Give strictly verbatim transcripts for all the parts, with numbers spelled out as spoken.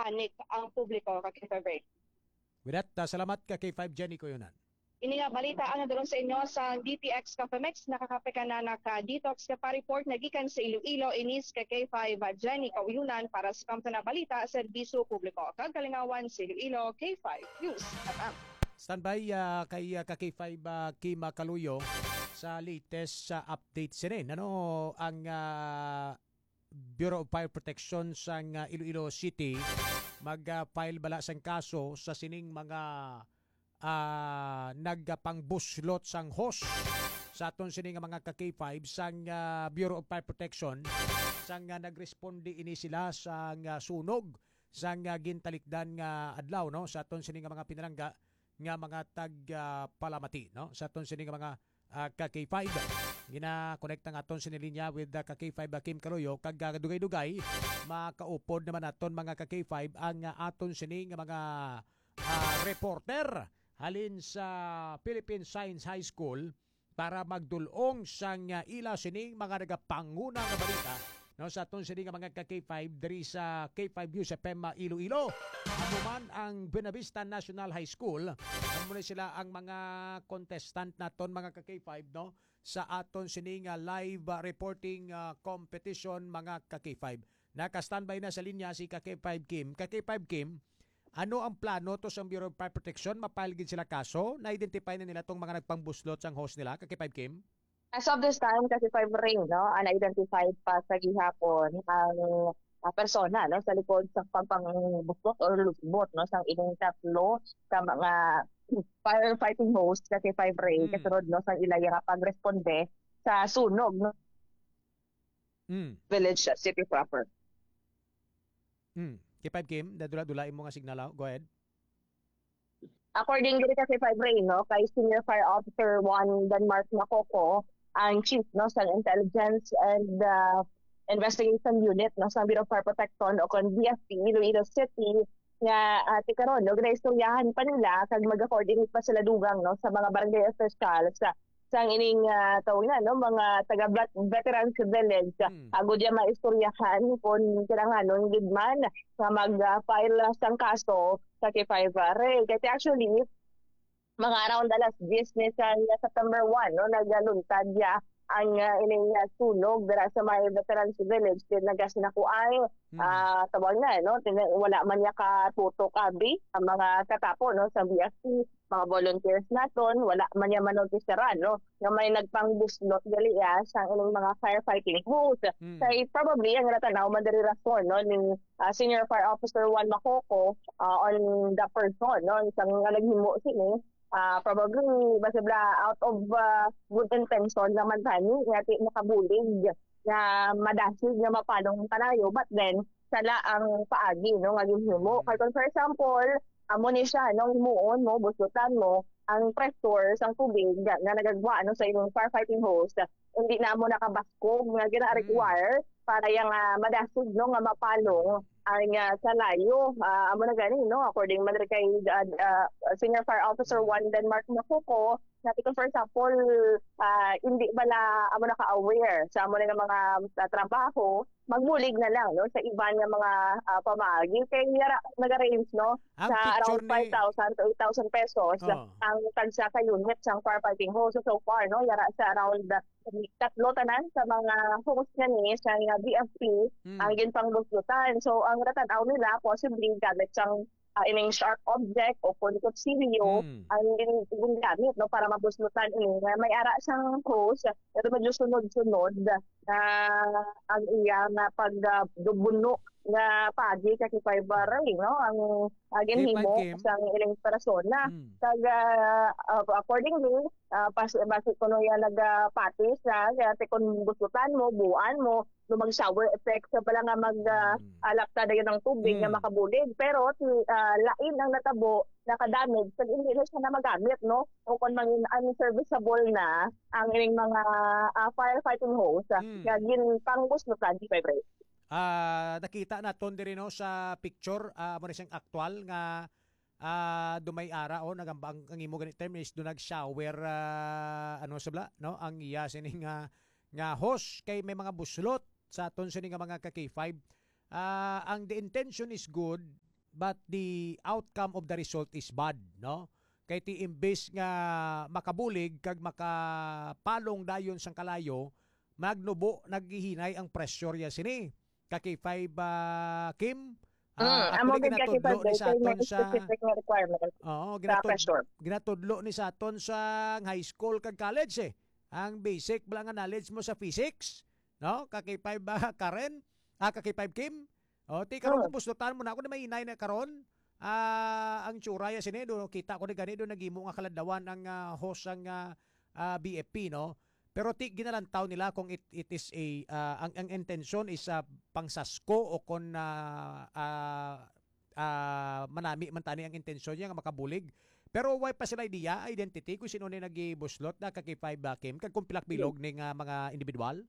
panic ang publiko, ka K five Ray. With that, ah, salamat ka K five Jenny Coyonan. Ini nga balita ang nadulong sa inyo sa D T X Cafe Mix. Nakakape ka na naka-detox ka pa report na gikan sa Iloilo, inis ka K five Jenny Kauyonan para sa Kamtan na Balita, Serbisyo Publiko kag Kalingawan sa Iloilo, K five News F M. Standby, ah, kay, ah, ka K five, ah, Kim Kaluyo sa latest sa update sinin. Ano ang, ah, Bureau of Fire Protection sang, ah, Iloilo City mag, ah, file bala sang kaso sa sining mga, ah, nagpangbuslot sang hose sa aton sini nga mga ka K five sang, ah, Bureau of Fire Protection sang, ah, nagresponde ini sila sang, ah, sunog sang, ah, gintalikdan nga adlaw, no, sa aton sini nga mga pinalangga nga mga tag, ah, palamati, no? Sa aton sini nga mga, ah, ka K five. Ginakonekta nga aton sini linya with, ah, ka K five, ah, Kim Kaluyo, kag, ah, dugay-dugay makaupod naman aton mga ka K five ang, ah, aton sini nga mga, ah, reporter halin sa Philippine Science High School para magdul-ong sang, ah, ila sining mga nagapanguna nga balita, no, sa aton sini nga mga ka K five diri sa K five News F M Iloilo. Amo man ang Buenavista National High School, amo ni sila ang mga contestant naton, mga ka K five, no, sa aton sini nga live, ah, reporting, ah, competition, mga ka K five. Naka-standby na sa linya si ka K five Kim. Ka K five Kim, ano ang plano to sa Bureau of Fire Protection? Ma-file gid sila kaso? Na-identify na nila tong mga nagpangbuslot sang hose nila, ka K five Kim? As of this time, ka K five Ray, no, unidentified pa sa gihapon ang, ah, persona, no, sa likod sa pagpangbuslot or lusbot, no, sang ining tatlo ka mga firefighting hose, ka K five Ray, Mm. kasunod, no, sa ila nga pagresponde sa sunog, no, Mm. village, uh, city proper. Mm. K five Kim, nadula-dula imo nga signal, ah. Go ahead. According diri ka K five Ray, no, kay Senior Fire Officer one Denmark Macoco, ang chief, no, sa Intelligence and, uh, Investigation Unit, no, sa Bureau of Fire Protection o kon B F P Iloilo City, nga, ah, ti karon, no, ginaistoryahan pa nila kag mag-coordinate pa sila dugang, no, sa mga barangay officials sa sang ining, ah, tawag na, no, mga taga Vet-, Veterans Village, ah, Hmm. agud ya maistoryahan kung kinahanglanon gid man nga mag, ah, file sang kaso sa K five Ray. Kasi actually, mga around alas diyes ni sa September one, no, nagaluntad ya ang, ah, ining, ah, sunog dira sa may Veterans Village. Kaya nagasinakuan, Hmm. ah, tawag na, no, tin-, wala man niya katutok abi ang mga katapo, no, sa B F P, mga volunteers naton, wala man niya manotisaran, no, nga may nagpangbuslot gali, ah, sa ining mga firefighting hose. Hmm. Kay probably ang natanaw man diri rason, no, ni, ah, Senior Fire Officer one Macoco, ah, on the person, no, isang nga naghimo sini, ah, probably, basta bla, out of, ah, good intention naman tani, nga ti makabulig, nga madasig, nga mapalong ang kalayo, but then, sala ang paagi, no, nga ginhimo. Mm. Kay kung, for example, amo ni siya, no, himuon mo, buslutan mo, ang pressure sang tubig nga, nga nagagwa, no, sa imong firefighting hose, hindi na mo nakabaskog nga gina-require Mm. para yang, ah, madasig, no, nga mapalong ang, ah, kalayo. Ah, amo na gani, no, according man kay, ah, ah, Senior Fire Officer Mm. one Denmark Macoco, nga kung, for example, ah, hindi bala amo na ka-aware sa amo na nga mga, ah, trabaho, magbulig na lang, no, sa iban nga mga, ah, pamaagi. Kay yara, nag-range, no, Ang sa picture around ni five thousand to eight thousand pesos Oh. ang tagsa ka unit sang firefighting hose. So, so far, no, yara sa around, ah, tatlo tanan sa mga hose nga ni sa nga B F P Mm. ang ginpangbuslutan. So, ang natanaw nila, possibly gamit sang, ah, ining sharp object o kon kutsilyo Mm. ang gin-, ginagamit, no, para mabuslutan ini nga may ara sang hose, pero medyo sunod-sunod na ang iya nga pag, ah, dubuno nga pagi sa K five Ray, no, ang, ah, ginhimo K five Kim. Sang ilang persona. Mm. Kag, ah, ah, accordingly, ah, pas-, basi kuno yan nagapati sa, kaya ti kun busutan mo, buan mo, no, mag-shower effect sa pala nga mag, ah, Mm. alapta dayon ang tubig nga Mm. makabulig. Pero ti, ah, lain ang natabo, nakadamage, kag hindi na siya na magamit, no? O kung mangin unserviceable na ang ining mga, ah, firefighting hose, ah, Mm. nga ginpangbuslutan, K five Ray. Ah, nakita naton diri, no, sa picture, ah, amo na siyang aktual nga, ah, dumay ara, oh, nagamba ang, ang imo gani term is do nag-shower, ah, ano sa bla, no, ang iya sini nga, nga hose kay may mga buslot sa aton sini nga mga ka K five. Ah, ang the intention is good, but the outcome of the result is bad, no? Kay ti imbes nga makabulig kag makapalong dayon sang kalayo, magnubo, naghihinay ang pressure ya sini. Ka K five, ah, Kim, ah, Mm, amo actually, gid ka ginatudlo K five ni sa kay may aton sa specific nga requirement Oo, sa ginatud-, pressure. ginatudlo ni sa aton sa high school kag college, eh. Ang basic bala nga knowledge mo sa physics, no? Ka K five ba, Karen? Ah, ka K five Kim? O, ti karon Oo. kung buslutan mo na, ako na mahinay na karon. Ah, ang tsura ya sini, do, kita ko ni gani, do, naghimo nga kaladlawan ang, ah, host sang, ah, ah, B F P, no? Pero ti ginalantaw nila kung it, it is a, ah, ang, ang intensyon is, ah, pangsasko o kon, ah, ah, ah, manami man tani ang intensyon niya nga makabulig. Pero wala pa sila idea, identity, kung sino ni nagibuslot na ka K five, ah, Kim, kag kung pilak bilog ni nga mga individual?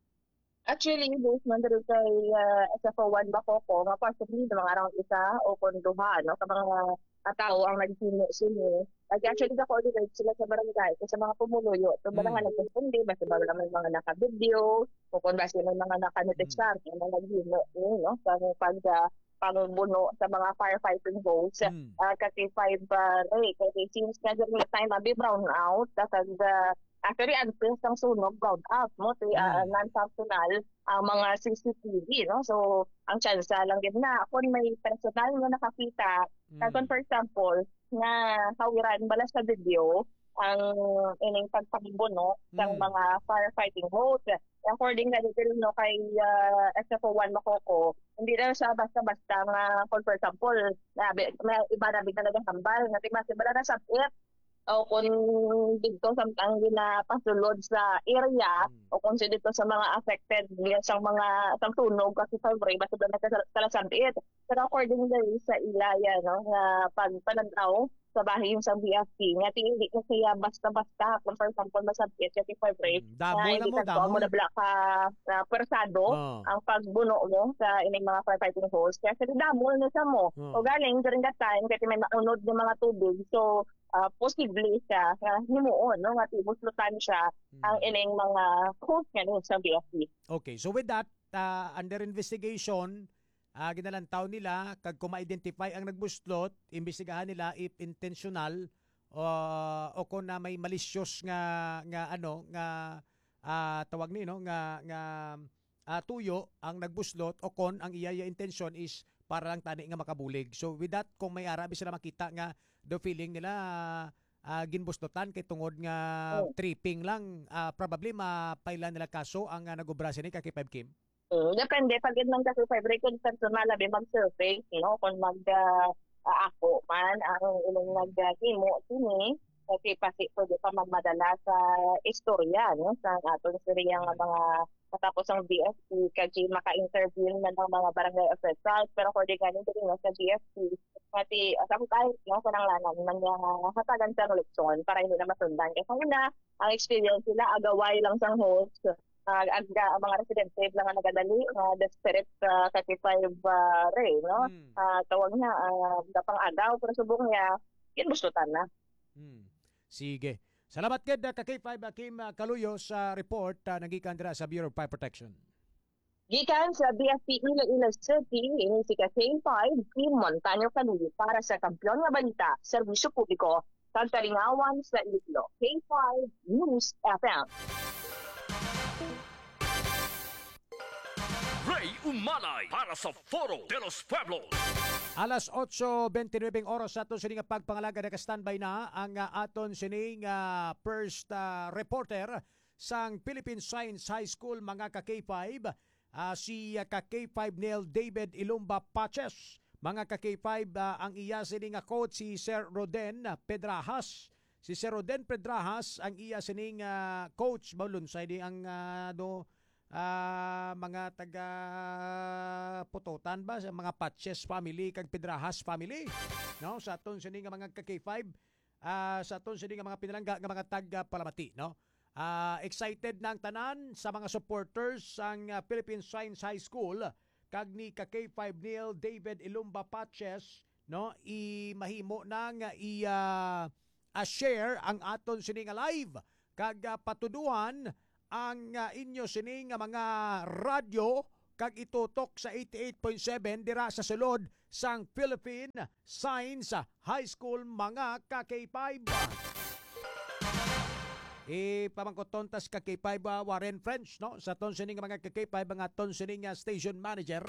Actually, based man diri kay, ah, S F O one ba ko, ko, nga possibly na mga around isa o kung duha, no, ka mga, ah, tawo ang naghimo sini. Like, actually, ga-coordinate sila sa barangay, sa mga pumuluyo. So, ba nga Mm. nagkukundi, basta ba lang may mga naka-video, o kung basta may mga naka-notice Mm. card, yung mga naghimo, yun, no, sa pag, ah, pangbuno sa mga firefighting hose, Mm. ah, kasi five, ah, Ray, kasi since nga during the time, abi brown out, tapos, ah, actually, until sang sunog, brown out, mo, ti, ah, Mm. non-functional ang mga C C T V, no? So, ang tsansa lang gid na, kung may personal nga nakakita, Mm. kag kung, for example, nga hawiran bala sa video ang ining pagpangbuno sang Mm. mga firefighting hose. According na dito, no, kay, ah, S F O one Macoco, hindi lang siya basta-basta nga, kung, for example, na, may iba na bigla nagahambal nga, di ba, si bala na sa o kung dito sa ang ginapasulod sa area, Mm. o kung sa dito sa mga affected niya sa mga, sa tunog kasi sa Bray, basta doon nagkasal-, kalasabit. Pero according dali sa ilaya, no, nga pagpanagdaw sa bahin sa B F T, nga ti-, hindi ko siya basta-basta, kung for example, masabit siya si February, Mm, damo na mo, damo. Mo na bala ka, ah, persado Oh. ang pagbuno mo sa ining mga firefighting hose. Kaya sa damo na sa mo. Oh. O galing, during that time, kasi may maunod ng mga tubig. So, ah, posible siya nga himuon, no, nga tibuslutan siya Mm. ang ining mga hose nga ni sa B F T. Okay, so with that, ah, under investigation, ah, ginalantaw nila kag kung ma-identify ang nagbuslot, imbestigahan nila if intentional, ah, o kung na may malicious nga, nga ano, nga, ah, tawag ni, no, nga, nga, ah, tuyo ang nagbuslot o kon ang iya, iya intensyon is para lang tani nga makabulig. So with that, kung may ara bi sila makita nga do feeling nila, ah, ginbuslotan kay tungod nga Oh. tripping lang, ah, probably mapailan nila kaso ang, ah, nag-obra sini ka K five Kim. Mm, depende. Pag yun lang kasi five record personal, labi mag-surface, no? Kung mag, ah, ah, ako man, ang ilang Mm. nag, ah, himo, sini, kasi pasi, pwede pa magmadala sa istorya, no? Sa aton istorya nga Mm. mga matapos ang B F T, kasi maka-intervene na ng mga barangay officials. Pero according nga nito rin, no, sa B F T, pati, ah, sa kahit, no, sa nanglanan, man niya hatagan sa eleksyon para hindi na masundan. Kasi una, ang experience nila, agaway lang sa host, ah, ag-, ang mga residente lang ang nagadali, nga desperate sa thirty-five, ah, Ray, no? Hmm. Ah, tawag na, ah, napang-agaw, pero subong niya, yun, gustutan na. Hmm. Sige. Salamat gid, ah, ka K five Akim, ah, Kaluyo sa report, ah, nagikan dira sa Bureau of Fire Protection. Gikan sa B F P Iloilo City, ini si ka K five, Kim Montaño Kaluyo para sa Kampiyon nga Balita, Serbisyo Publiko, kag Kalingawan sa Iloilo, K five News F M. Ray Umalay para sa Foro de los Pueblos. Alas otso bente nuebe ang oras sa aton sini nga pagpangalaga. Naka-standby na ang, ah, aton sini nga first, ah, reporter sang Philippine Science High School, mga ka K five, ah, si, ah, ka K five Neil David Ilumba Paches. Mga ka K five, ah, ang iya sini nga coach si Sir Roden Pedrajas. Si Sir Roden Pedrajas ang iya sini nga coach. Maulunsay di ang, ah, do, ah, mga taga Pototan ba, sa mga Paches family kag Pedrajas family, no? Sa aton sini nga mga ka K five, ah, sa aton sini nga mga pinalangga nga mga taga Palamati, no? Ah, excited na ang tanan sa mga supporters sang, ah, Philippine Science High School kag ni ka K five Neil David Ilumba Paches, no? I mahimo na nga i, ah, ah, share ang aton sini nga live kag, ah, patuduhan ang, ah, inyo sini nga mga radyo kag itutok sa eighty-eight point seven dira sa sulod sang Philippine Science High School, mga ka-K five. Ipamangkuton ta sa ka-K five, ah, Warren French, no? Sa aton sining mga ka-K five, mga aton sining, ah, station manager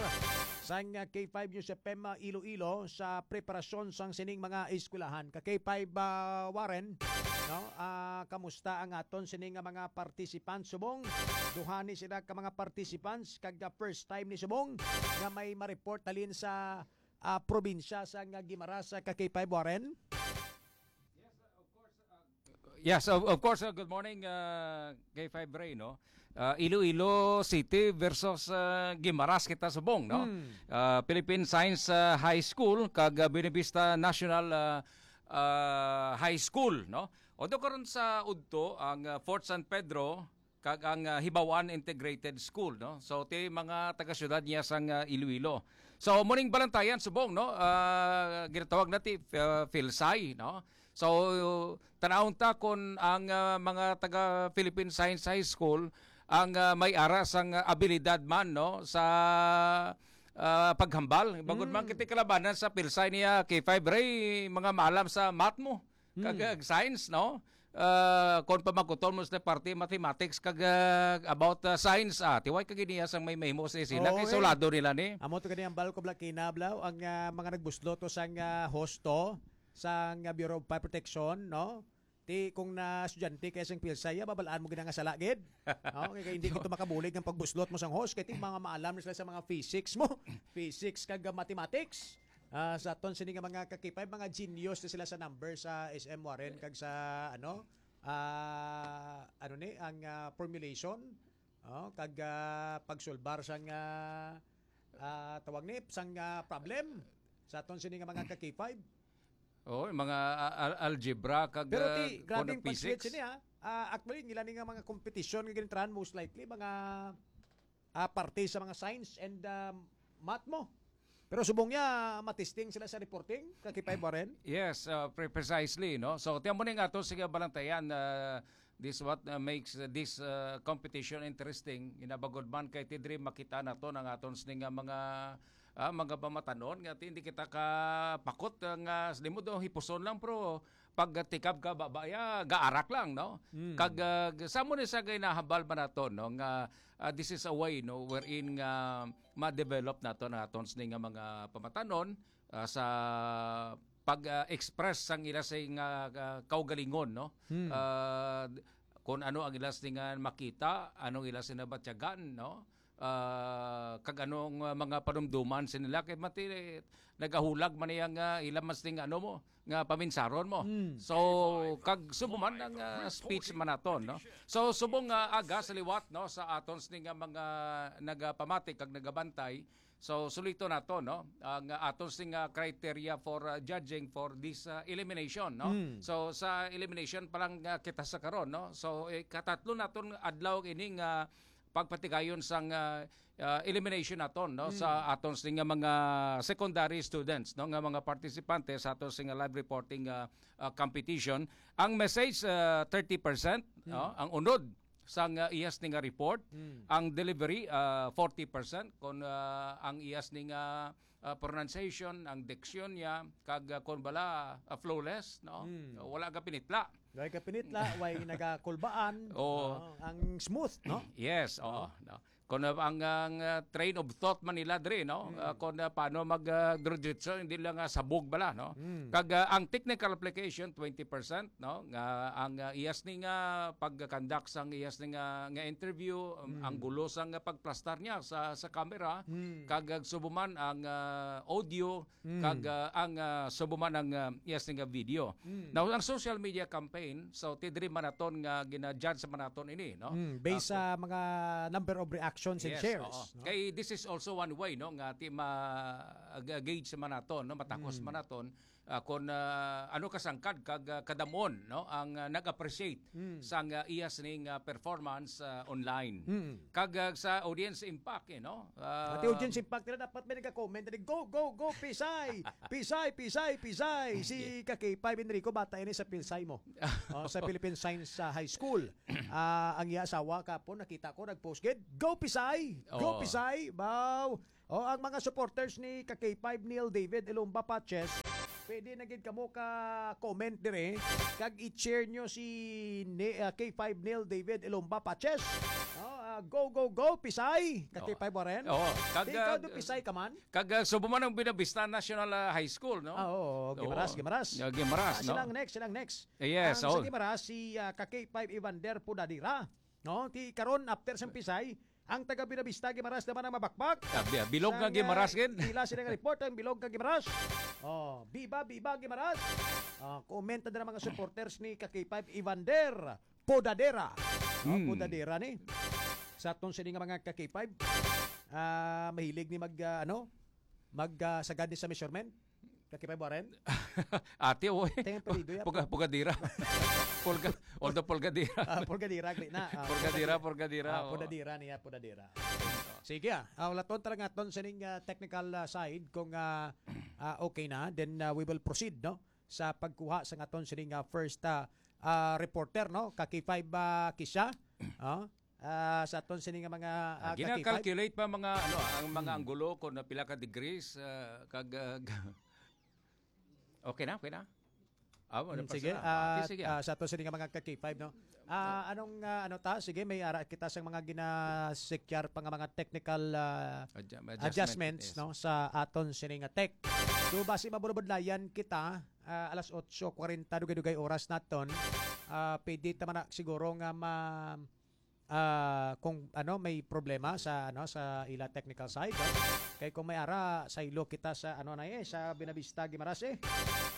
sang, ah, K five News F M, ah, Iloilo sa preparasyon sang sining mga eskwelahan. Ka-K five, ah, Warren, no? Ah, kamusta ang aton sining nga mga participants subong? Duha ni sila ka mga participants kag, ah, first time ni subong nga may ma-report halin sa, ah, probinsya sa nga Guimaras, sa ka-K five Warren? Yes, of, of course, uh, good morning, uh, K five Ray, no? Uh, Iloilo City versus uh, Guimaras kita subong, no? Hmm. Uh, Philippine Science uh, High School kag uh, Buenavista National uh, uh, High School, no? Although karon sa udto ang uh, Fort San Pedro kag ang uh, Hibawan Integrated School, no? So ti mga taga-syudad niya sang uh, Iloilo. So muning balantayan subong, no? Uh, ginatawag na ti uh, PhilSci, no? So tanawon ta kon ang uh, mga taga Philippine Science High School ang uh, may ara sang uh, abilidad man, no, sa uh, paghambal. Bangod mm. man kiti kalabanan sa PhilSci niya K five Ray, mga maalam sa math mo. Kag mm. science, no? Uh, kon pamakuton mo sa parte mathematics kag uh, about uh, science, ah, tiway kag niya sang may mahimo sa sila oh, kay eh. Sulado nila ni. Amo to gani ang balko blakina blaw ang uh, mga nagbuslot to sang uh, hosto sang uh, Bureau of Fire Protection, no? Ti kung na estudyante kay sang PhilSci, babalaan mo gina nga sala gid. No? Kay hindi kito makabulig ang pagbuslot mo sang host kay ti mga maalam na sila sa mga physics mo, physics kag mathematics. Uh, sa aton sini nga mga kakipay, mga genius na sila sa number sa S M Warren kag sa ano uh, ano ni ang uh, formulation oh, kag uh, pagsulbar sang uh, uh, tawag ni sang uh, problem sa aton sini nga mga kakipay. Oh, mga uh, algebra kag Pero ti, uh, grabe ang pag-switch niya. Uh, actually, nila ni nga mga competition nga gintrahan most likely mga uh, parte sa mga science and uh, math mo. Pero subong niya, matisting sila sa reporting, kakipay mo rin? Yes, uh, pre- precisely, no? So, tiyan mo na nga ato, sige, balantayan, uh, this what uh, makes uh, this uh, competition interesting. Inabagod man kay tidri makita nato ang aton sini nga mga ah, mga pamatanon nga hindi kita ka pakot uh, nga sini mo do hipuson lang, pero pag tikab ka baba ya gaarak lang, no? Mm. Kag uh, sa mo ni sa ginahambal man nato, no, nga uh, this is a way, no, wherein nga ma-develop nato na aton sini nga mga pamatanon uh, sa pag-express sang ila sa nga uh, kaugalingon, no? Hmm. Uh, kung ano ang ila sini nga makita, anong ila sini batyagan, no? Uh, kag anong uh, mga panumduman sa nila kay mati nagahulag man iya nga ila mas ning ano mo nga paminsaron mo. Mm. So kag subo man ang uh, speech man naton, no? So subong nga uh, aga sa liwat, no, sa aton sini nga mga nagapamati kag nagabantay, so sulito nato, no, ang uh, aton sini nga criteria for uh, judging for this uh, elimination, no? Mm. So sa elimination pa lang uh, kita sa karon, no? So eh, katatlo naton adlaw ining uh, pagpatigayon sang uh, uh, elimination naton, no, mm. sa aton sini nga mga secondary students, no, nga mga partisipante sa aton sini nga live reporting uh, uh, competition. Ang message uh, thirty percent, mm. no, ang unod sang uh, iyas ni nga report, mm. ang delivery uh, forty percent, kon uh, ang iyas ni nga uh, pronunciation, ang diksyon niya, kag uh, kon bala uh, flawless, no? Mm. So, wala ka pinitla. Way ka pinitla, way nagakulbaan. Oh. Uh, ang smooth, no? Yes, oh. No? Kung uh, ang, ang uh, train of thought man nila diri, no? Mm. Uh, kung uh, paano mag uh, hindi lang uh, sabog bala, no? Mm. Kag uh, ang technical application twenty percent, no? Nga ang uh, iyas ni nga pagkandak sang iyas ni nga, nga interview, mm. ang gulo sang uh, pagplastar niya sa sa camera, mm. kag uh, subuman ang uh, audio, mm. kag uh, ang uh, subuman ang uh, iyas ni nga video. Mm. Now ang social media campaign, so tidri man naton nga gina-judge man naton ini, no? Mm. Based uh, sa mga number of reactions and yes, shares. Oo. No? Kay this is also one way, no, nga ti ma-gauge man naton, no, matakos mm. man naton uh, kung uh, ano kasangkad kag uh, kadamon, no, ang uh, nag-appreciate mm. sang uh, iyas ning uh, performance uh, online. Mm. Kag uh, sa audience impact, you know. Uh, Pati audience impact nila dapat may nagka-comment na go go go Pisay, Pisay, Pisay, Pisay. Si Kakay Five Enrico bata ini sa Pisay mo. Oh, sa Philippine Science uh, High School. Uh, ang iya asawa kapon nakita ko nag-post gid, go Pisay. Pisay. Go, Oo. Pisay. Baw. O, ang mga supporters ni ka K five Neil David Ilumba Paches, pwede na gid kamo ka comment dire kag i-cheer nyo si ni, ah, K five Neil David Ilumba Paches. No? Ah, go, go, go, Pisay. Ka Oo. K five Warren. Oo. Kag, Di ikaw ah, do Pisay ka man? Kag, ah, subo man ang Buenavista National, ah, High School, no? Ah, oo, Gimaras, Oo. Gimaras. Yeah, Gimaras, Ah, no? Silang next, silang next. Yes, Ang sa oo. Gimaras, si, ah, ka K five Evander Pudadira. No? Ti karon, after sang Pisay, ang taga Buenavista, Gimaras naman ang mabakbak. Ah, bi-, bilog Sang, nga Gimaras, ah, gid. Ila sila nga report, ang bilog nga Gimaras. Oh, biba, biba, Gimaras. Ah, comment na mga supporters ni ka K five Evander Podadera. No, Hmm. Podadera ni. Sa aton sini nga mga ka K five, ah, mahilig ni mag, ah, ano, mag, ah, sagad ni sa measurement. Ka K five Warren? Ate, oy. Tingnan pa, Lido, ya. Puga-, pugadira. Pulga-, although pulgadira. Ah, pulgadira, agri na. Ah, Pulgadira, pulgadira. Pulgadira, Ah, oo. pulgadira niya, pulgadira. Sige, ah. Ah, wala ton talaga ton sining, ah, technical, ah, side kung, ah, ah, okay na. Then, ah, we will proceed, no? Sa pagkuha sa ngaton sining, ah, first, ah, ah, reporter, no? Ka K five, ah, Kisha. Ah, ah, sa aton sini nga mga, ah, Ah, ka K five. Gina-calculate pa mga, ano, ang mga Hmm. anggulo kung na pila ka degrees, ah, kag, ah, okay na, okay na? Ah, wala Hmm, pa sige, sila. Ah, ah, sige. Ah, sa aton sini nga mga ka K five, no? Ah, anong, ah, ano ta? Sige, may ara kita sang mga ginasekyar pa nga mga technical, ah, Adja-, adjustment, adjustments, yes. no, sa aton sini nga tech. So, basi mabudlayan kita, ah, alas otso kwarenta, dugay-dugay oras naton. Ah, pwede ta man na siguro nga ma-, ah, kung ano, may problema sa, ano, sa ila technical side, no? Kay kung may ara, saylo kita sa, ano na, eh, sa Buenavista, Guimaras, eh.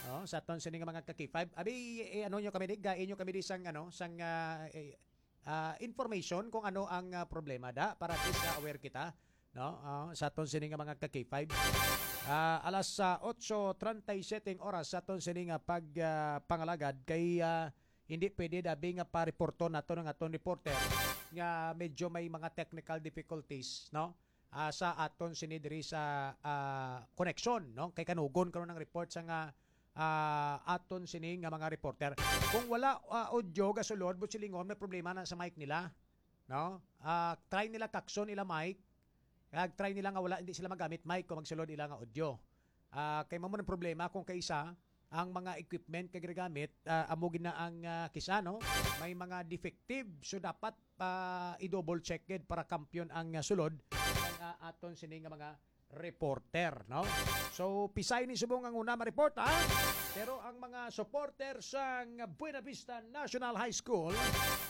Oh, sa aton sini nga mga ka K five. Abi, eh, ano nyo kami, di, gain nyo kami di sang, ano, sang, ah, eh, ah, information kung ano ang, ah, problema da, para at least, ah, aware kita, no? Ah, sa aton sini nga mga ka K five. Ah, alas, ah, otso treinta y siete ang oras sa aton sini nga pag, ah, pangalagad kay, ah, hindi pwede dabi nga pa-reporton nato ng aton reporter nga medyo may mga technical difficulties, no? Ah, sa aton sini diri sa, ah, koneksyon, no? Kay kanugon karon ang report sa nga, ah, aton sini nga mga reporter. Kung wala, ah, audio gasulod, buot silingon, may problema na sa mic nila, no? Ah, try nila kakson ila mic, kag try nila nga wala, hindi sila magamit mic kung magsulod ila nga audio. Ah, kay mao man ang problema kung kaisa ang mga equipment nga ginagamit, ah, amo gid na ang, ah, kisa, no? May mga defective, so dapat pa i-double check gid para kampiyon ang, ah, sulod ang, ah, aton sini nga mga reporter, no? So, Pisay ni subong ang una ma-report, ha? Pero ang mga supporter sang Buenavista National High School,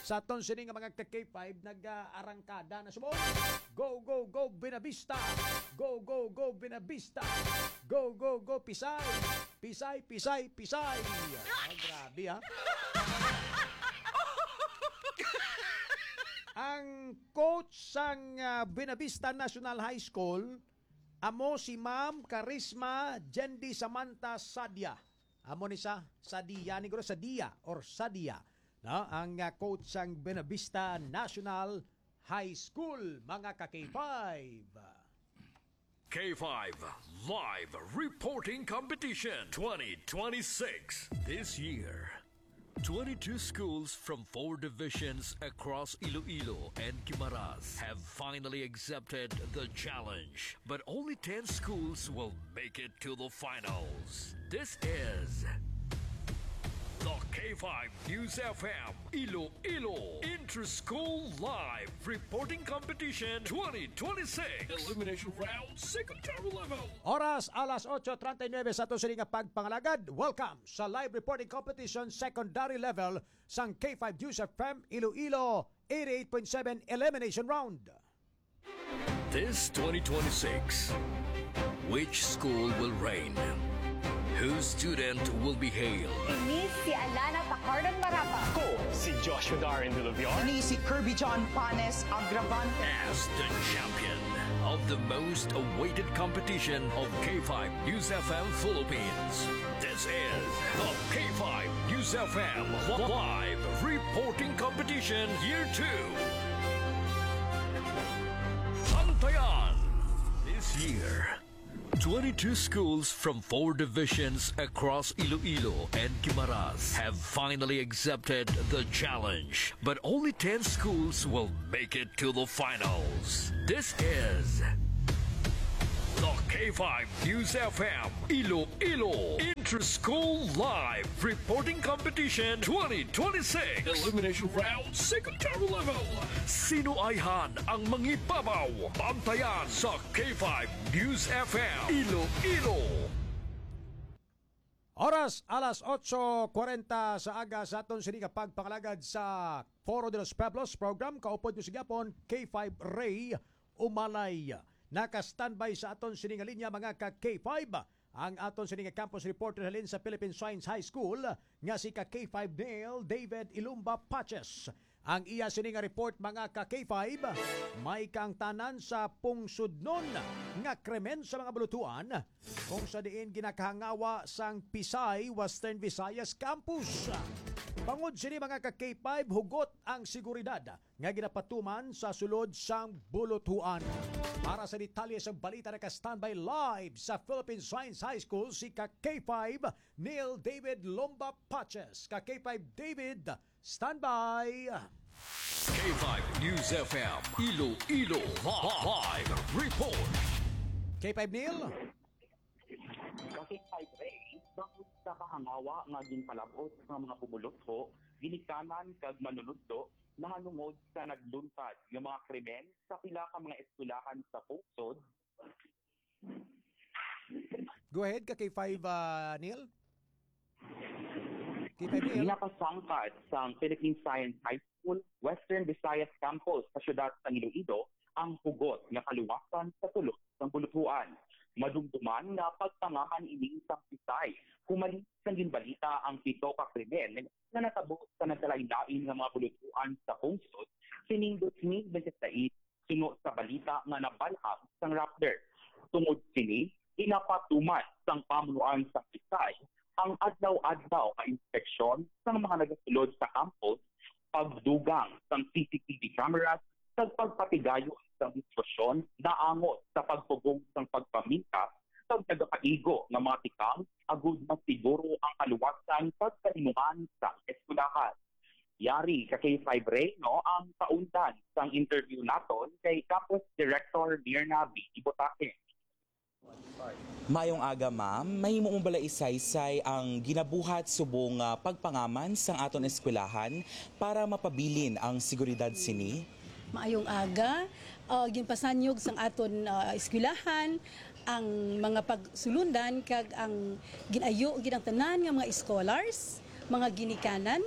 sa aton sini nga mga ka K five, nag-arangkada na subong. Go, go, go, Buenavista! Go, go, go, Buenavista! Go, go, go, Pisay! Pisay, Pisay, Pisay! Ah, grabe, ha? Ang coach sang, ah, Buenavista National High School, amo si Ma'am Karisma Jendi Samantha Sadia. Amo ni sa Sadia, ni guro Sadia or Sadia, no? Ang, ah, coach sang Buenavista National High School, mga ka K five. K five Live Reporting Competition twenty twenty-six. This year, twenty-two schools from four divisions across Iloilo and Guimaras have finally accepted the challenge. But only ten schools will make it to the finals. This is the K five News F M Iloilo Inter-School Live Reporting Competition twenty twenty-six. Elimination Round, Secondary Level. Oras, alas otso treinta y nueve sa aton sini nga pagpangalagad. Welcome sa live reporting competition, secondary level sang K five News F M Iloilo eighty-eight point seven Elimination Round. This twenty twenty-six, which school will reign? Whose student will be hailed? Ini si Alana Tacardan Marapa. Ko si Joshua Darren Villaviar. Ini si Kirby John Panes Agravan. As the champion of the most awaited competition of K five News F M Philippines. This is the K five News F M Live Reporting Competition Year two. Bantayan. This year, Twenty-two schools from four divisions across Iloilo and Guimaras have finally accepted the challenge, but only ten schools will make it to the finals. This is the K five News F M Iloilo Inter-School Live Reporting Competition twenty twenty-six Elimination Round Secondary Level. Sino ayhan ang mangibabaw? Bantayan sa K five News F M Iloilo. Oras, alas otso kwarenta sa aga sa aton sini nga pagpangalagad sa Foro de los Pueblos program. Kaupod nyo sa gihapon, K five Ray Umalay. Naka-standby sa aton sini nga linya, mga ka K five, ang aton sini nga campus reporter halin sa Philippine Science High School, nga si ka K five Neil David Ilumba Paches. Ang iya sini nga report, mga ka K five, may kaangtanan sa pungsodnon nga krimen sa mga bulutuan, kung sa diin ginakahangawa sang Pisay Western Visayas Campus. Bangod sini, mga ka K five, hugot ang seguridad nga ginapatuman sa sulod sang bulutuan. Para sa detalye sang balita, naka-standby live sa Philippine Science High School si ka K five Neil David Lomba Paches. Ka K five David, standby. K five News F M Iloilo Live Report. K five Neil. Kasi kay Ray, bangod sa kahangawa nga ginpalab-ot nga mga pumulotho, ginikanan kag manunudlo nahanungod sa nagluntad nga mga krimen sa pila ka mga eskwelahan sa pungsod. Go ahead, ka K five, ah, Neil. K five Neil. Ginapasangkad sang Philippine Science High School, Western Visayas Campus sa siyudad sang Iloilo ang hugot nga kaluwasan sa sulod sang bulutuan. Madumduman nga pagpangaman ini sang Pisay, humalit sang ginbalita ang pito ka krimen nga natabo sa nagkalain-lain nga mga bulutuan sa pungsod sining dos mil bente sais, suno sa balita nga nabalhag sang Rappler. Tungod sini, ginapatuman sang pamunuan sa Pisay ang adlaw-adlaw nga inspeksyon sang mga nagasulod sa campus, pagdugang sang C C T V cameras, kag pagpatigayon sang diskusyon naangot sa pagpugong sang pagpamintas kag nagapaigo nga mga tikang agud masiguro ang kaluwasan kag kalinuhan sang eskwelahan. Yari ka K five Ray, no, ang kaundan sang interview naton kay Campus Director Mirna B. Ibutake. Maayong aga, ma'am. Mahimo mo bala isaysay ang ginabuhat subong nga pagpangaman sang aton eskwelahan para mapabilin ang seguridad sini? Maayong aga. Ah, ginpasanyog sang aton, ah, eskwelahan ang mga pagsulundan kag ang gin-ayo gid ang tanan nga mga scholars, mga ginikanan,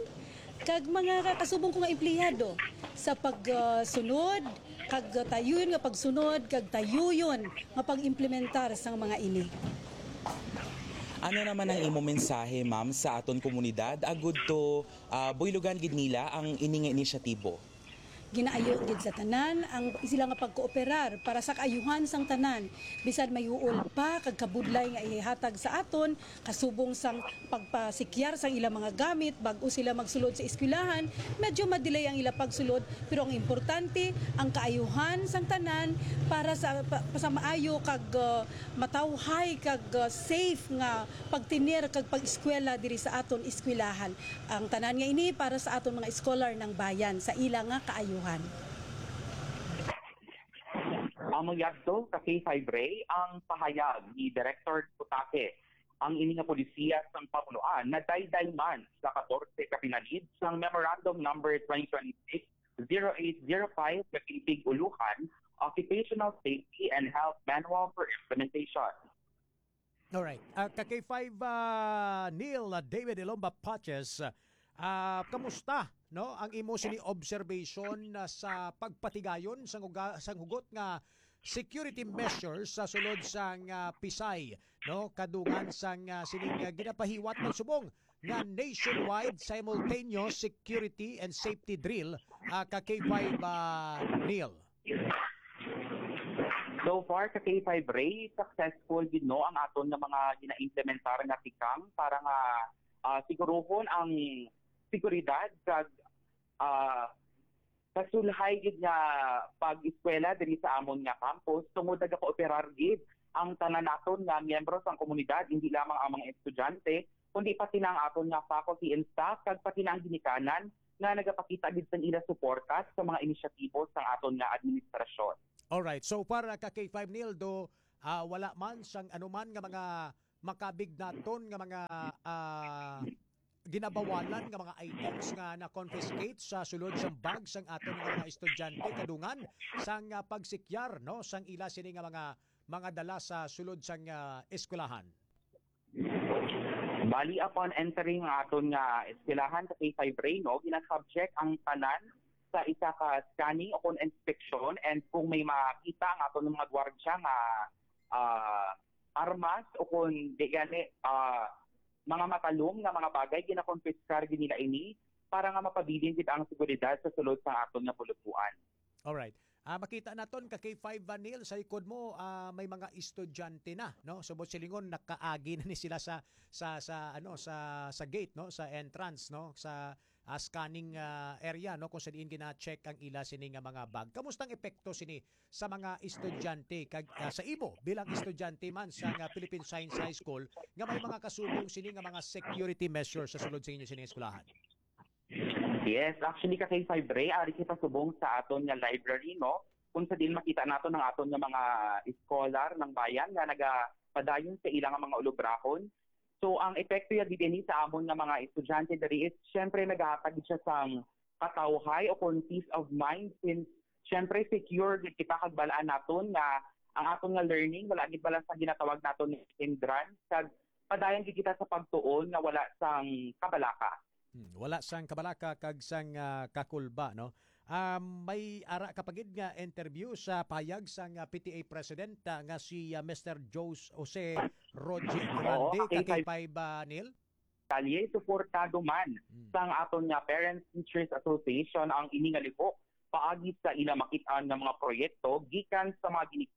kag mga kasubong ko nga empleyado sa pagsunod kag tayuyon nga pagsunod kag tayuyon nga pag-implementar sang mga ini. Ano naman ang imo mensahe, ma'am, sa aton komunidad agud to, ah, buylogan gid nila ang ini nga inisyatibo? Ginaayo gid sa tanan ang sila nga pagkooperar para sa kaayuhan sang tanan, bisan may huol pa kag kabudlay nga ihatag sa aton, kasubong sang pagpasikyar sang ilang mga gamit bag-o sila magsulod sa eskwelahan. Medyo madelay ang ila pagsulod, pero ang importante ang kaayuhan sang tanan para sa pa, sa maayo kag, uh, matawhay kag, uh, safe nga pagtener kag pag-eskwela diri sa aton eskwelahan. Ang tanan nga ini para sa aton mga scholar ng bayan sa ila nga kaayuhan. Amo yadto ka K five Ray ang pahayag ni Director Putake. Ang ini nga polisiya sang pamunuan nadayday man sa katorse ka pinalid sang Memorandum Number twenty twenty-six zero eight zero five, Kapimpig Uluhan, Occupational Safety and Health Manual for Implementation. Alright. Ah, ka K five, ah, Neil, ah, David Ilomba Paches, ah, kamusta, no, ang imo sini observation, ah, sa pagpatigayon sang uga-, sang hugot nga security measures sa sulod sang, ah, Pisay, no, kadungan sang, ah, sining, ah, ginapahiwat man subong nga nationwide simultaneous security and safety drill, ah, ka K five, ah, Neil? So far, ka K five Ray, successful gid, no, ang aton nga mga ginaimplementar nga tikang para nga, ah, siguruhon ang seguridad kag, ah, kasulhay gid nga pag-eskwela diri sa amon nga campus, tungod nagakooperar gid ang tanan naton nga miyembro sang komunidad, hindi lamang ang mga estudyante, kundi pati na ang aton nga faculty and staff, kag pati na ang ginikanan nga nagapakita gid sang ila suporta sa mga inisyatibo sang aton nga administrasyon. Alright. So far, ah, ka K five Neil, do, ah, wala man sang anuman nga mga makabig naton nga mga, ah, ginabawalan nga mga items nga na-confiscate sa sulod sang bag sang aton nga mga estudyante kadungan sang, ah, pagsikyar, no, sang ila sini nga mga, mga dala sa sulod sang, ah, eskwelahan. Bali, upon entering ang aton nga eskwelahan sa K five Ray, no, ginasubject ang tanan sa isa ka scanning o kon inspeksyon, and kung may makita ang aton mga gwardya nga, ah, armas o kon di gani, ah, mga matalom nga mga bagay, ginakonpiskar gid nila ini para nga mapabilin gid ang seguridad sa sulod sa aton nga bulutbuan. Alright. Ah, makita naton ka K five Vanil sa likod mo, ah, may mga estudyante na, no? So, buot silingon, nakaagi na ni sila sa, sa, sa, ano, sa, sa gate, no? Sa entrance, no? Sa, ah, scanning, ah, area, no? Kung sa diin gina-check ang ila sini nga mga bag. Kamusta ang epekto sini sa mga estudyante kag, ah, sa imo bilang estudyante man sa nga Philippine Science High School nga may mga kasubong sini nga mga security measures sa sulod sa inyo sini nga eskwelahan? Yes, actually, ka K five Ray, ari kita subong sa aton nga library, no? Kung sa diin makita naton ang aton nga mga scholar ng bayan nga nagapadayon sa ila nga mga ulubrahon. So, ang epekto ya gid ini sa amon nga mga estudyante diri is, syempre, nagahatag siya sang katawhay o kung peace of mind, since, syempre, secure gid kita kag balaan naton nga ang aton nga learning wala gid bala sa ginatawag naton nga hindrance, kag padayon gid kita sa pagtuon nga wala sang kabalaka. Hmm, wala sang kabalaka kag sang, ah, kakulba, no? Um, may ara ka pa gid nga interview sa pahayag sang, ah, P T A President, ah, nga si, ah, Mister Jos-, Jose Roger Oo, Grande, ka K five. Ka K five, ah, Neil? Kalye, suportado man Hmm. sang aton nga Parents Teachers Association ang ini nga lihok paagi sa ila makit-an nga mga proyekto gikan sa mga gini-,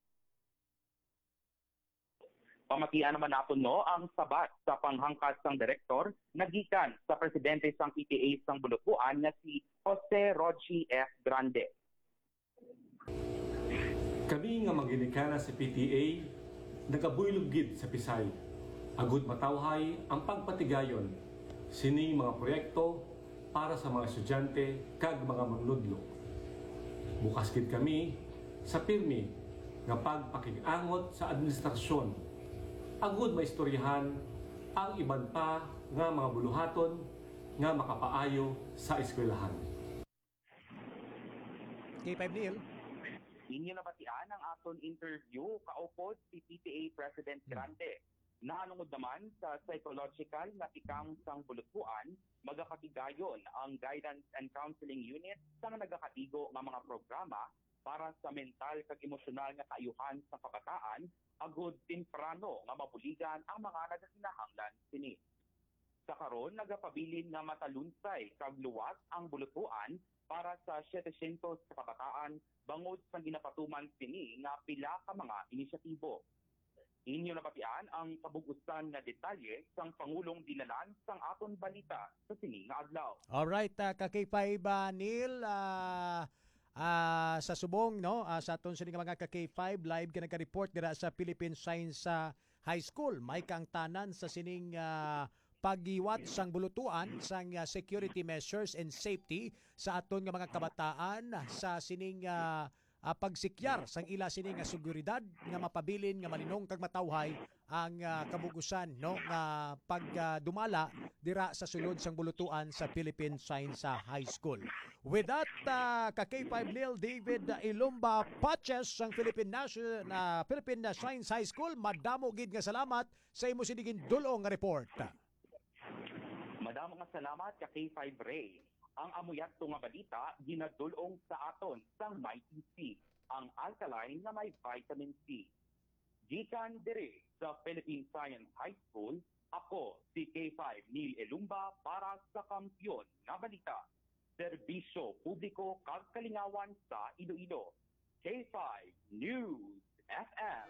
Pamatian naman naton, no, ang sabat sa panghangkas sang direktor nga gikan sa presidente sang P T A sang Bulutbuan nga si Jose Rochi F. Grande. Kami nga mga ginikanan sa P T A nagabuylog gid sa Pisay, agud matawhay ang pagpatigayon sining mga proyekto para sa mga estudyante kag mga manunudlo. Bukas gid kami sa pirmi nga pagpakig-angot sa administrasyon, agud maistoryahan ang iban pa nga mga buluhaton nga makapaayo sa eskwelahan. K five Neil. Inyo nabatian ang aton interview kaupod si P T A President Hmm. Grande. Nahanungod naman sa psychological nga tikang sang bulutbuan, magapatigayon ang Guidance and Counseling Unit sang nagakaigo nga mga programa para sa mental kag emosyonal nga kaayuhan sang kabataan, agud temprano nga mabuligan ang mga nagakinahanglan sini. Sa karon, nagapabilin nga matalunsay kag luwas ang bulutbuan para sa setecientos ka kabataan bangod sa ginapatuman sini nga pila ka mga inisyatibo. Inyo nabatian ang kabug-usan nga detalye sang pangulong dinalan sang aton balita sa sini nga adlaw. Alright, ah, ka K five, ah, Neil, ah, ah, sa subong, no, ah, sa aton sini nga mga ka K five, live ka nagka-report dira sa Philippine Science, ah, High School. May kaangtanan sa sining, ah, paghiwat sang bulutuan sang, ah, security measures and safety sa aton nga mga kabataan sa sining, ah, ah, pagsikyar sang ila sini nga seguridad nga mapabilin nga malinong kag matawhay ang, ah, kabug-usan, no, nga pag, ah, dumala dira sa sulod sang bulutuan sa Philippine Science, ah, High School. With that, ah, ka K five Neil David Ilumba Paches sang Philippine Nation, ah, Philippine Science High School, madamo gid nga salamat sa imo sini gindul-ong nga report. Madamo nga salamat ka K five Ray. Ang amo yadto nga balita ginadul-ong sa aton sang Mighty C, ang alkaline nga may vitamin C. Gikan diri sa Philippine Science High School, ako si K five Neil Elumba para sa Kampiyon nga Balita, Serbisyo Publiko kag Kalingawan sa Iloilo, K five News F M.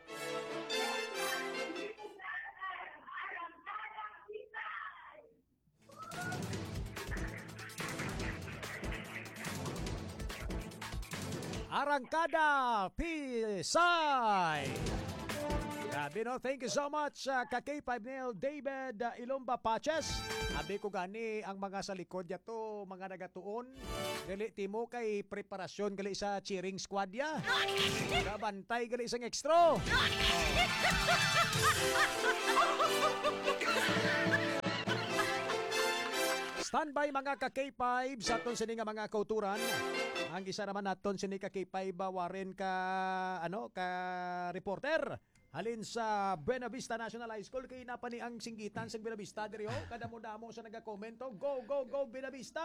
Arangkada Pisay! Grabe, no? Thank you so much, ah, ka K five Neil David, ah, Ilumba Paches. Abi ko gani ang mga sa likod niya to, mga nagatuon. Dili timo kay preparasyon gali sa cheering squad ya. Kabantay gali sang extra. Standby, mga ka K five, sa aton sini nga mga kauturan. Ang isa naman naton sini ka K five, ah, Warren, ka, ano, ka reporter halin sa Buena Vista National High School. Kay napa ni ang singgitan sa Buena Vista diri, oh. Kadamo-damo sa nagakomento. Go, go, go, Buena Vista!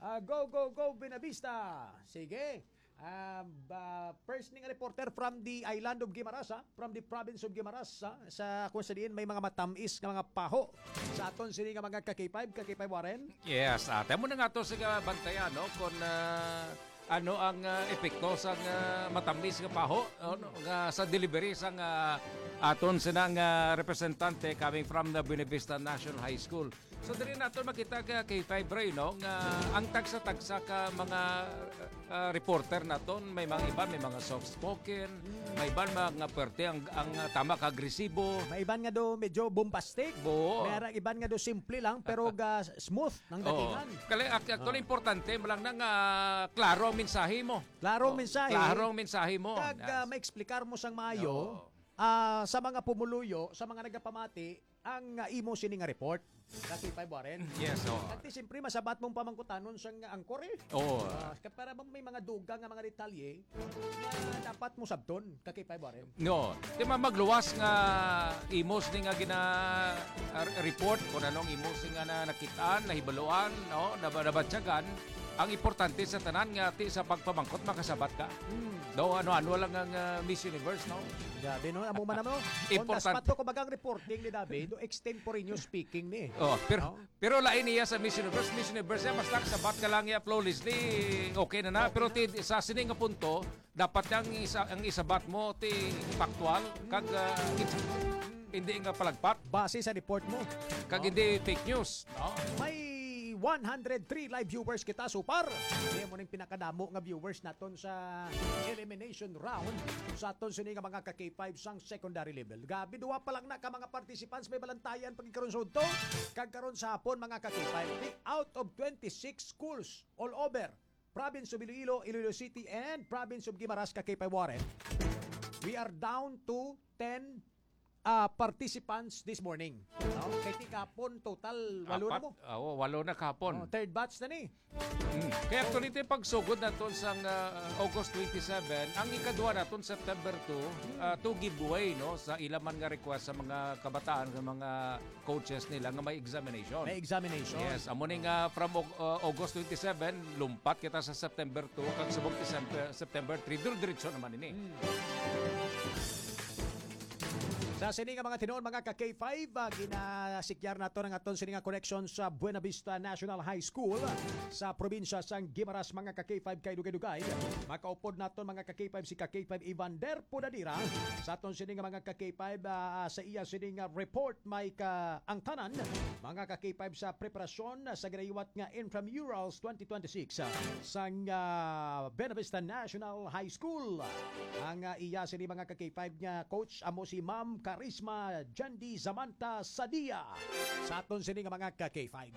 Ah, go, go, go, Buena Vista! Sige. Ah, ba, first ning reporter from the island of Guimaras, ha? From the province of Guimaras, ha? Sa kung sa diin may mga matamis nga mga paho sa aton sini nga mga ka K five, ka K five Warren. Yes, ate mo na nga to sa bantayan, no? Kung, ah, ano ang, ah, epekto sa, ah, matamis nga paho, ano, nga sa delivery sa, ah, aton sinang, ah, representante coming from the Buena Vista National High School. So, diri nato makita ka K five Ray, no, nga ang tagsa-tagsa ka mga, ah, reporter naton, may mga iban, may mga soft-spoken, may iban mga pwerte ang, ang, ah, tama ka agresibo. May iban nga do medyo bombastic. Oo. May ara iban nga do simple lang, pero ga smooth ang Oo. datingan. Kali-, ac-, actually, Oo. importante mo lang na nga klaro ang mensahe mo. Klaro ang Oo, mensahe. klaro ang mensahe mo. Kag, Yes. ah, maexplikar mo sang maayo, Oo. ah, sa mga pumuluyo, sa mga nagapamati, ang, ah, imo sini nga report. Ka K five Warren. Yes, oo. At siyempre, masabat mong pamangkutanon sang anchor eh. Oo. Ah, ka-, para bang may mga dugang nga mga detalye na dapat mo sabton, ka K five Warren. No, di man magluwas nga imos ni nga gina, ah, report kung anong imos nga na nakitaan, nahibaluan, no, naba-, nabatyagan. Ang importante sa tanan nga ti sa pagpamangkot makasabat ka. Hmm. No, ano-ano lang ang, ah, Miss Universe, no? Grabe, no? Amo man, no? On the Important- spot to, kumbaga ang reporting ni David, no? Extemporaneous speaking ni. Oh, pero No? Pero lain niya sa Miss Universe. Miss Universe, eh, basta kasabat ka lang niya flawlessly, okay na na. Okay Pero na. ti, sa sini nga punto, dapat ang isa, ang isabat mo ti factual, kag, ah, hindi nga palagpat, Base sa report mo. kag No? hindi fake news. No? May one hundred three live viewers kita so far. Kaya mo ning pinakadamo nga viewers naton sa elimination round sa aton sini nga mga ka K five sang secondary level. Gabi, duwa pa lang na ka mga participants may balantayan pagkaron sa udto. Kag karon sa hapon, mga ka K five, out of twenty-six schools all over province of Iloilo, Iloilo City, and province of Guimaras, ka K five Warren, we are down to ten, ah, participants this morning. No? Kay ti kahapon, total, walo na Apat. mo. Ah, oo, walo na kahapon. Oh, third batch na ni. Mm. Kaya actually, ito yung pagsugod naton sang, ah, August twenty-seven, ang ikaduha naton September two, ah, two giveaway, no, sa ila man nga request sa mga kabataan, sa mga coaches nila nga may examination. May examination. Yes, amo ni nga from Au-, ah, August twenty-seven, lumpat kita sa September two, kag subong December, September three, dire-diretso naman ini. Hmm. Sa sini nga mga tinuon, mga ka K five, ah, ginasikyar nato ang aton sini nga connection sa Buena Vista National High School sa probinsya sang Guimaras, mga ka K five, kay dugay-dugay makaupod naton, mga ka K five, si ka K five Evander Podadira sa aton sini nga mga ka K five, ah, sa iya sini nga report, may ka ang tanan, mga ka K five, sa preparasyon sa ginahiwat nga Intramurals twenty twenty-six, ah, sang, ah, Buena Vista National High School. Ang, ah, iya sini mga ka K five nga coach amo si Ma'am Karisma Jandy Samantha Sadia. Sa aton sini nga mga ka K five.